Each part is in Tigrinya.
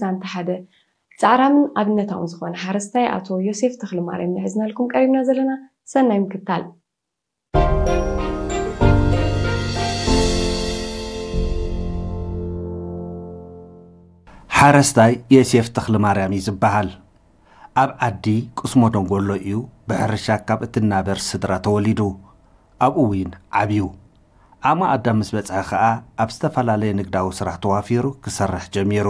ዛንታ ሓደ ጻዕራምን ኣብነታውን ዝኾነ ሓረስታይ ኣቶ ዮሴፍ ተኽለማርያም ንሕዝናልኩም ቀሪብና ዘለና። ሰናይ ምክታል። ሓረስታይ የሴፍ ተኽለማርያም እዩ ዝበሃል። ኣብ ዓዲ ቅስሞ ደንጎሎ እዩ ብሕርሻ ካብ እትናበር ስድራ ተወሊዱ። ኣብኡ እውን ዓብዩ። ዓቕሚ ኣዳም ምስ በጽሐ ኸኣ ኣብ ዝተፈላለየ ንግዳዊ ስራሕ ተዋፊሩ ክሰርሕ ጀሚሩ።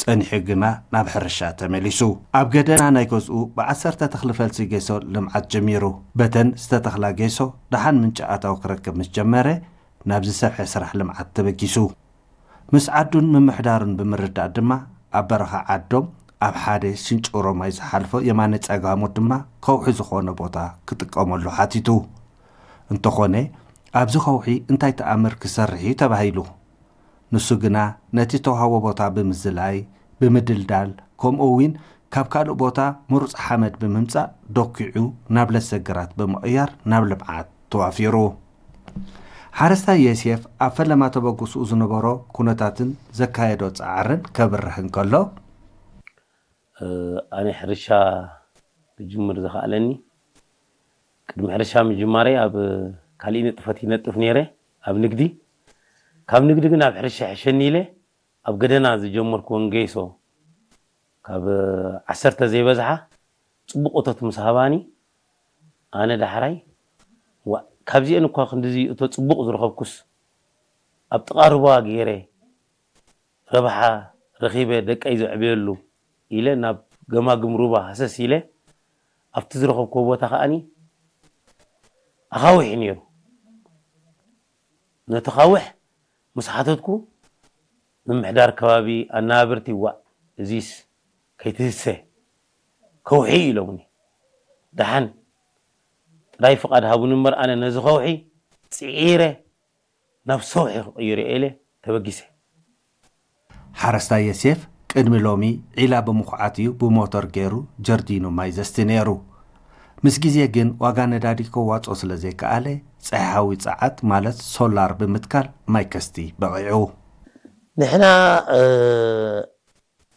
ጸኒሑ ግና ናብ ሕርሻ ተመሊሱ። ኣብ ገደና ናይ ገዝኡ ብዓሰርተ ተኽሊ ፈልሲ ጌሶ ልምዓት ጀሚሩ። በተን ዝተተኽላ ጌሶ ደሓን ምንጪ ኣታዊ ክረክብ ምስ ጀመረ ናብ ዝሰፍሐ ስራሕ ልምዓት ተበጊሱ። ምስ ዓዱን ምምሕዳሩን ብምርዳእ ድማ ኣብ በረኻ ዓዶም ኣብ ሓደ ሽንጭሮ ማይ ዝሓልፎ የማነ ጸጋሙ ድማ ከውሒ ዝኾነ ቦታ ክጥቀመሉ ሓቲቱ። እንተኾነ ኣብዚ ከውሒ እንታይ ተኣምር ክሰርሕ እዩ ተባሂሉ። ንሱ ግና ነቲ ዝተውሃቦ ቦታ ብምዝላይ፣ ብምድልዳል፣ ከምኡ እውን ካብ ካልእ ቦታ ምሩፅ ሓመድ ብምምፃእ ደኪዑ ናብ ለሰ ግራት ብምቕያር ናብ ልምዓት ተዋፊሩ። ሓረስታይ የሴፍ ኣብ ፈለማ ተበግስኡ ዝነበሮ ኩነታትን ዘካየዶ ፃዕርን ከብርህ እንከሎ፣ ኣነ ሕርሻ ክጅምር ዝኸኣለኒ ቅድሚ ሕርሻ ምጅማረይ ኣብ ካሊእ ንጥፈት ይነጥፍ ነይረ ኣብ ንግዲ። ካብ ንግዲ ግን ኣብ ሕርሻ ይሕሸኒ ኢለ ኣብ ገደና ዝጀመርኩወን ገይሶ ካብ ዓሰርተ ዘይበዝሓ ፅቡቕ እቶት ምስ ሃባኒ ኣነ ዳሕራይ ዋ ካብዚአን እኳ ክንድዚ እቶ ፅቡቕ ዝረኸብኩስ ኣብ ጥቓ ሩባ ገይረ ረብሓ ረኺበ ደቀይ ዘዕብየሉ ኢለ ናብ ገማግም ሩባ ሃሰስ ኢለ ኣብቲ ዝረኸብኩዎ ቦታ ከዓኒ ኣኻውሕ እዩ ነይሩ። ነቲ ኻውሕ ምስ ሓተትኩ ምምሕዳር ከባቢ ኣናብርቲ ዋእ እዚስ ከይትህሰ ከውሒ እዩ ኢሎምኒ። ደሓን ጥራይ ፍቓድ ሃቡኒ እምበር ኣነ ነዚ ከውሒ ፅዒረ ናብ ሰውሒ ክቕይሮ እየ ኢለ ተበጊሰ። ሓረስታይ የሴፍ ቅድሚ ሎሚ ዒላ ብምኹዓት እዩ ብሞተር ገይሩ ጀርዲኑ ማይ ዘስቲ ነይሩ። ምስ ግዜ ግን ዋጋ ነዳዲ ከዋፅኦ ስለ ዘይከኣለ ፀሓያዊ ፀዓት ማለት ሶላር ብምትካል ማይ ከስቲ በቒዑ። ንሕና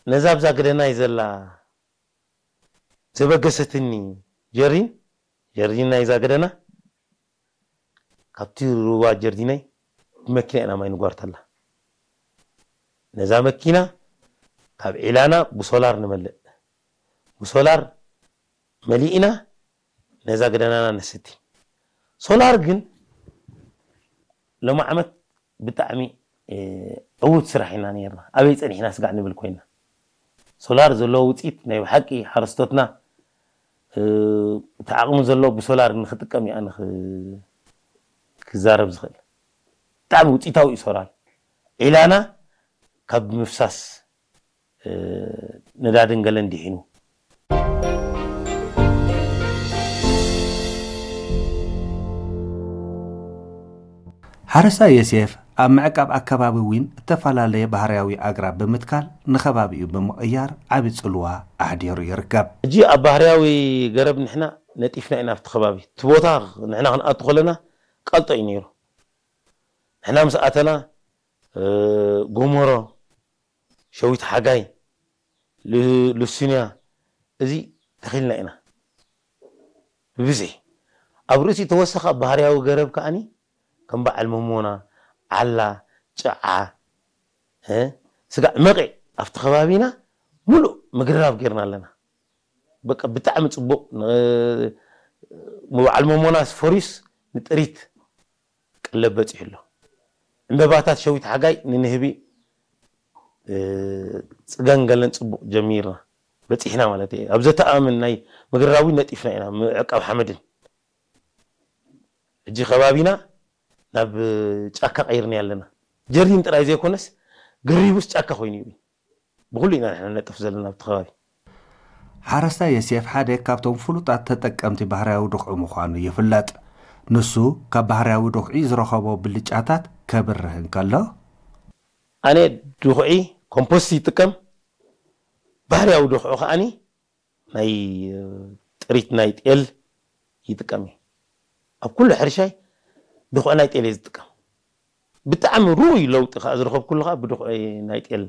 ነዛ ኣብዛ ገደናይ ዘላ ዘበገሰትኒ ጀሪን ጀርዲን ናይዛ ገደና ካብቲ ሩባ ጀርዲናይ ብመኪና ኢና ማይ ንጓርተላ። ነዛ መኪና ካብ ዒላና ብሶላር ንመልእ። ብሶላር መሊእና ነዛ ገደናና ነስቲ። ሶላር ግን ሎሚ ዓመት ብጣዕሚ ዕውት ስራሕ ኢና ነርና። ኣበይ ፀኒሕና ስጋዕ ንብል ኮይና። ሶላር ዘለዎ ውፅኢት ናይ ብሓቂ ሓረስቶትና እቲ ዓቕሚ ዘለዎ ብሶላር ንክጥቀም እዩ ኣነ ክዛረብ ዝኽእል። ብጣዕሚ ውፅኢታዊ እዩ ሶላር። ዒላና ካብ ምፍሳስ ነዳድን ገለን ድሒኑ። ሓረስታይ የሴፍ ኣብ ምዕቃብ ኣከባቢ እውን እተፈላለየ ባህርያዊ ኣግራብ ብምትካል ንኸባቢኡ ብምቕያር ዓቢ ጽልዋ ኣሕዲሩ ይርከብ። ሕጂ ኣብ ባህርያዊ ገረብ ንሕና ነጢፍና ኢና ኣብቲ ከባቢ። እቲ ቦታ ንሕና ክንኣቱ ከለና ቀልጦ እዩ ነይሩ። ንሕና ምስ ኣተና ጎመሮ፣ ሸዊት ሓጋይ፣ ሉሲንያ እዚ ተኺልና ኢና ብብዝሒ። ኣብ ርእሲ ተወሰኸ ኣብ ባህርያዊ ገረብ ከዓኒ ከም በዓል መሞና፣ ዓላ፣ ጭዓ፣ ስጋዕ መቒዕ ኣብቲ ከባቢና ሙሉእ ምግርራብ ጌርና ኣለና። በቃ ብጣዕሚ ፅቡቕ። በዓል መሞናስ ፈሪዩስ ንጥሪት ቀለብ በፂሑ ኣሎ። ዕምበባታት ሸዊት ሓጋይ ንንህቢ ፅገን ገለን ፅቡቕ ጀሚርና በፂሕና ማለት እየ። ኣብ ዘተኣምን ናይ ምግርራዊ ነጢፍና ኢና ምዕቃብ ሓመድን። ሕጂ ከባቢና ናብ ጫካ ቀይርና ኣለና። ጀርዲን ጥራይ ዘይኮነስ ግሪቡስ ጫካ ኮይኑ እዩ። ብኹሉ ኢና ንሕና ነጥፍ ዘለና ኣብቲ ከባቢ። ሓረስታይ የሴፍ ሓደ ካብቶም ፍሉጣት ተጠቀምቲ ባህርያዊ ድኹዒ ምዃኑ ይፍለጥ። ንሱ ካብ ባህርያዊ ድኹዒ ዝረኸቦ ብልጫታት ከብርህ እንከሎ፣ ኣነ ድኹዒ ኮምፖስት ይጥቀም፣ ባህርያዊ ድኹዒ ከዓኒ ናይ ጥሪት ናይ ጤል ይጥቀም እየ። ኣብ ኩሉ ሕርሻይ ድኹዒ ናይ ጤል እየ ዝጥቀም። ብጣዕሚ ርኡይ ለውጢ ከዓ ዝረኸብኩሉ ከዓ ብድኹዒ ናይ ጤል